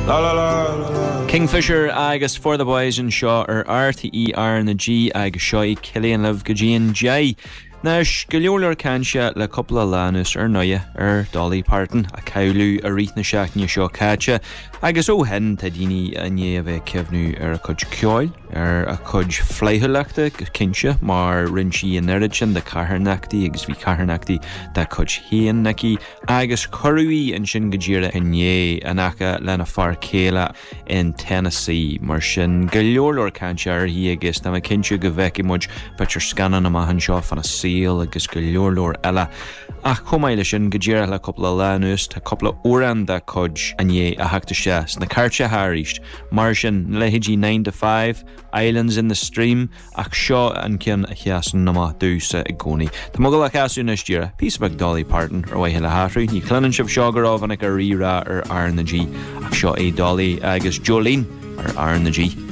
La la la la la. Kingfisher agus For the Boys anseo ar RTÉ R na G agus seo é Cillian libh go dtí an 10. Anois, go leor leor cainte le cúpla lá anuas ar ndóighe ar Dolly Parton, a cailleadh i rith na seachtaine seo caite, agus ó shin tá daoine i ndiaidh a bheith ag cuimhniú ar a cuid ceoil, ar a cuid flaithiúlachta go cinnte, mar rinne sí an oiread sin de charthanachtaí agus bhí carthanachtaí dá cuid féin aici, agus cuireadh í ansin go díreach inné in aice lena fear céile. in Tennessee. Mar sin, go leor leor cainte uirthi agus tá mé cinnte go bhfeicfidh muid b'fhéidir scannán amach anseo fána saol agus go leor leor eile. Ach chomh maith leis sin, go díreach le cúpla lá anuas, tá cúpla amhrán dá cuid i ndiaidh a theacht isteach sna cairteacha arís. Mar sin, na leithéidí Nine to Five, Islands in the Stream, Ach seo an ceann a sheasann amach domhsa i gcónaí. Tá mé ag dul a chasadh anois díreach, píosa beag Dolly Parton ar mhaithe le hathrú. Ní chluineann sibh seo go rómhinic ar Rí-Rá ar R na G, ach seo é Dolly agus Jolene ar R na G.